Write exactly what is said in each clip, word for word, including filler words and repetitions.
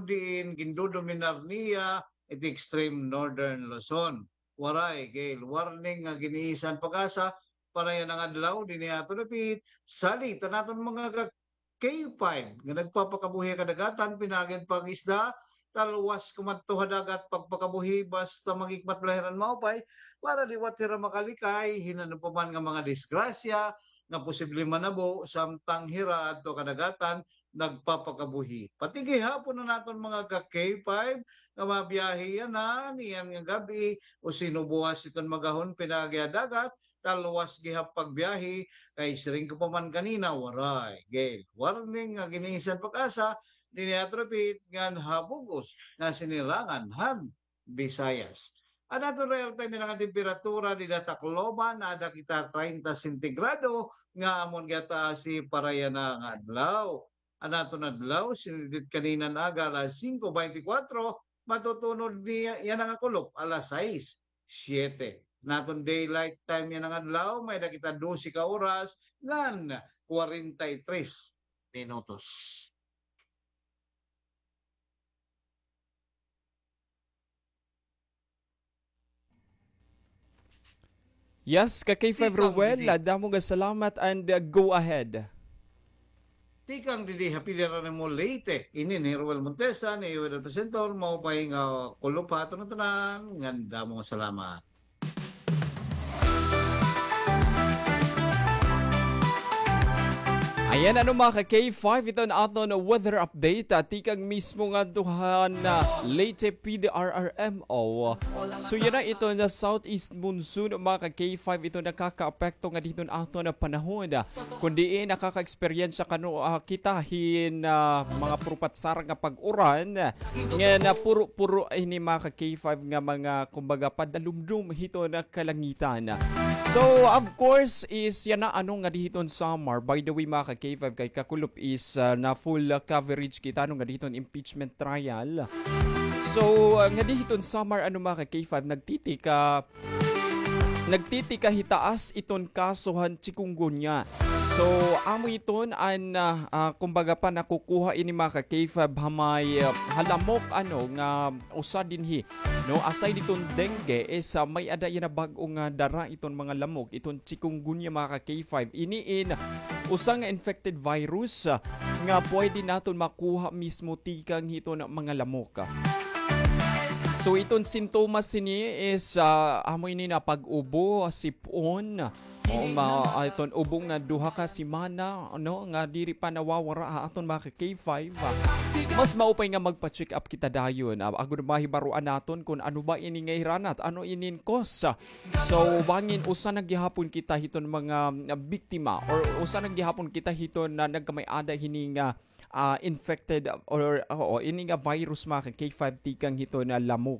diin gindodominar niya it extreme northern Luzon. Waray gale warning nga gin-iisan PAGASA para yana nga adlaw dinhi ha aton dapit. Salit an aton mga ka K five nga nagpapakabuhi ha kadagatan, pinaagi han pag-isda, talwas kumadto ha dagat, pagpakabuhi basta maghikmat balahiran maupay para liwat hira makalikay hin ano pa man nga mga disgrasya nga posible manabo samtang hira adto ha kadagatan nagpapakabuhi. Pati gihapon an aton mga ka K five nga mabiyahe yana niyan nga gab-i o sinubuwas iton magahon pinaagi ha dagat, talwas gihap pagbiyahe, kay siring ko pa man kanina, waray gale warning nga gin-iisan PAGASA dinhi ha aton dapit ngan ha bug-os nga sinirangan han Visayas. An aton real time yana nga temperatura dida ha Tacloban, aada kita treinta sentigrado nga amon gihataas para yana nga adlaw. An aton adlaw, sinidit kanina nga aga alas singko beintikwatro, matutunod niya yana nga kulop alas sais, siyete. An aton daylight time yana nga adlaw, may-ada kita dose ka oras ngan kwarenta y tres minutos. Yes, ka K five Tikang Ruel, didi. Ah, damo nga salamat and, ah, go ahead. Tikang didi ha Pilar nimo Leyte, ini ni Ruel Montesa, ni Ruel Presenter, maupay nga kulop ha aton tanan, ngan damo nga salamat. Ayan, ano, mga ka K five, ito an aton weather update, ah, tikang mismo ngadto han, ah, Leyte P D R R M O. So, yana iton southeast monsoon, mga ka K five, iton nakakaapekto ngadi hiton aton panahon. Kon diin nakaka-eksperyensya kano, ah, kita hin, ah, mga puro patsara nga pag-uran. Ngan, ah, puro-puro ini, mga ka K five, nga mga, kumbaga, padalumdom hiton kalangitan. So, of course, is yana, ano, ngadi hiton Samar. By the way, mga ka K five, kay kakulop is, ah, na full, ah, coverage kita, ano, ngadi hiton impeachment trial. So, ah, ngadi hiton Samar, ano, mga ka K five, nagtitika nagtitikahitaas iton kaso han chikungunya. So, amo iton an, ah, ah, kumbaga pa, nakukuha ini, mga ka K five, ha may, ah, ha lamok, ano, nga usa dinhi, no? Aside iton dengue, is, ah, may-ada yana bag-o nga dara iton mga lamok, iton chikungunya, mga ka K five. Ini in usa nga infected virus, ah, nga pwede naton makuha mismo tikang hiton mga lamok. So, iton sintomas hini is, ah, amo ini na pag-ubo, sip-on, o ma-, ah, iton ubo nga duha ka semana, no, nga diri pa nawawara ha aton mga ka K five. Mas maupay nga magpa-check up kita dayon. Ah, agod mahibaroan naton kon ano ba ini nga hiranat, ano inin cause. So, bangin usa na gihapon kita hiton mga, ah, biktima, or usa na gihapon kita hiton na nagkamay-ada hini nga, ah, infected, or, oo, ini nga virus, mga ka K five, tikang hiton lamok.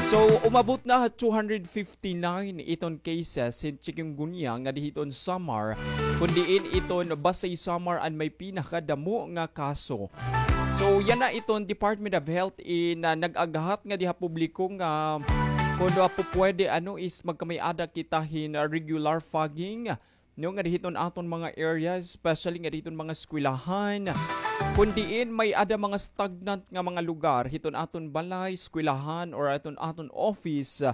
So, umabot na ha two hundred fifty-nine iton cases hin chikungunya ngadi hiton Samar, kon diin iton Basey Samar an may pinakadamo nga kaso. So, yana iton Department of Health in, ah, nag-aghat ngadi ha publiko nga kon, ah, pupwede, ano, is magkamay-ada kita hin, ah, regular fogging, no, ngadi hiton aton mga areas, especially ngadi hiton mga eskwelahan. Kon diin may-ada mga stagnant nga mga lugar hiton aton balay, eskwelahan, or aton, aton office,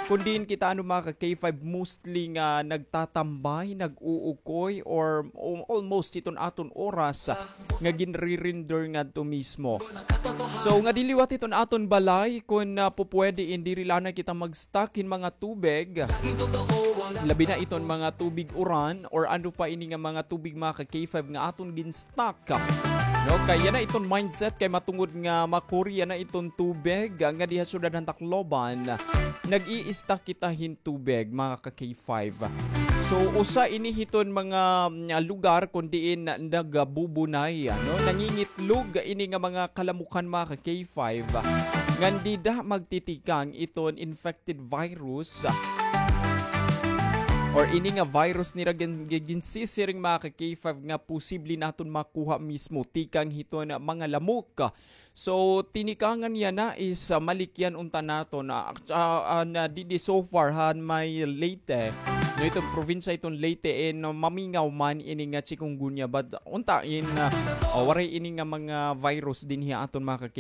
kon diin kita, ano, mga ka K five, mostly nga nagtatambay, nag-uukoy, or, o, almost hiton aton oras nga ginre-render ngadto mismo. So, ngadi liwat hiton aton balay, kon, ah, pupwede in diri la anay kita mag-stock hin mga tubig, labi na iton mga tubig uran or ano pa ini nga mga tubig, mga ka K five, nga aton gin-stock. No, kay yana iton mindset, kay matungod nga makuri yana iton tubig, ah, ngadi ha syudad han Tacloban, nag-i-stock kita hin tubig, mga ka K five. So, usa ini hiton mga, mm, lugar kon diin nagbubunay, ano, nangingitlog ini nga mga kalamukan, mga ka K five, ngan dida magtitikang iton infected virus, or ini nga virus nira gin-, gin-, ginsisiring, mga ka K five, nga posible naton makuha mismo tikang hiton mga lamok. So, tinikangan yana is, ah, malikyan unta naton, ah, ah, ah, na didi so far han may Leyte. No, iton probinsya iton Leyte, eh, no, mamingaw man ini nga chikungunya, but unta in, ah, ah, waray ini nga mga virus dinhi ha aton, mga ka K